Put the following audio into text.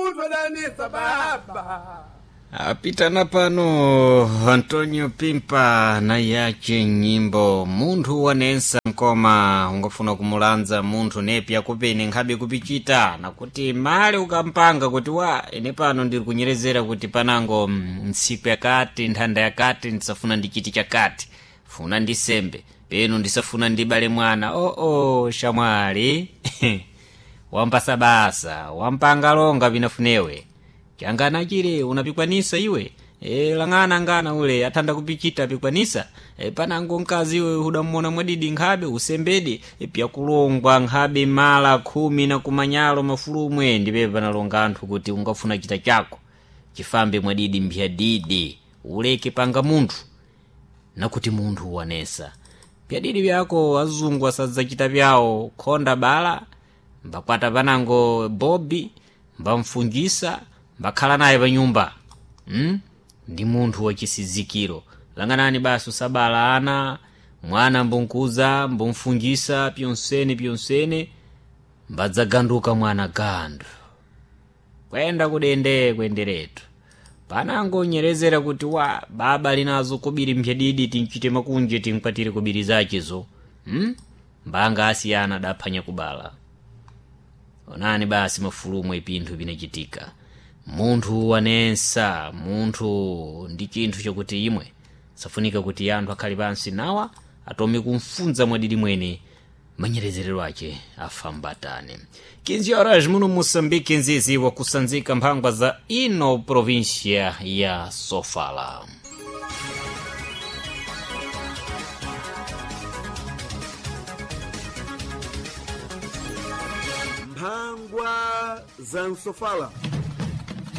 Munthu adanesa baba. Apitana pano Antonio Pimpa na yace nyimbo munthu wanensa nkoma ungafuna kumulanza munthu nepi akupene nkhabe kupichita nakuti male ukampanga kuti wa ine pano ndiri kunyerezera kuti panango ntsiku yakati nthanda yakati ndisafuna ndichiti chakati funa ndisembe peno ndisafuna ndibale mwana oo oh, oh, shamwali wampasa basa wampanga longa vinafunewe changana chile unapikwanisa iwe lang'ana ngana ule athanda kupichita apikwanisa panango mkazi iwe udamuona mwadidi nkhabe usembede pyakulongwa nkhabe mala 10 na kumanyalo mafulumwe ndipepe panalonga anthu kuti ungafuna chita chako chifambe mwadidi mphyadidi uleke panga munthu nakuti munthu wanesa pyadidi vyako azungu asadzachita vyawo khonda bala mbakwata panango bobi mbamfungisa mbakhala naye panyumba Ndi munthu wachisizikiro lang'anani basi usabala ana mwana mbunkuza mbumfungisa pyonsene pyonsene mbadzaganduka mwana gandu kwenda kudende kwenderetu panango nyerezera kuti wa baba linazo kubiri mphyadidi tinchite makunje tinkwatire kubiri zachezo Mbanga asiyana adaphwanya kubala. Onani basi mafulumo ipinthu pinachitika munthu wanensa munthu ndi chinthu chakuti imwe safunika kuti anthu akhale pansi nawa atome kumfunza mwadidi mwene manyerezerero ace afambatane. 15 horas muno Moçambique nzizi wakusanzika mphangwa za ino província ya Sofala. Mphangwa za Msofala.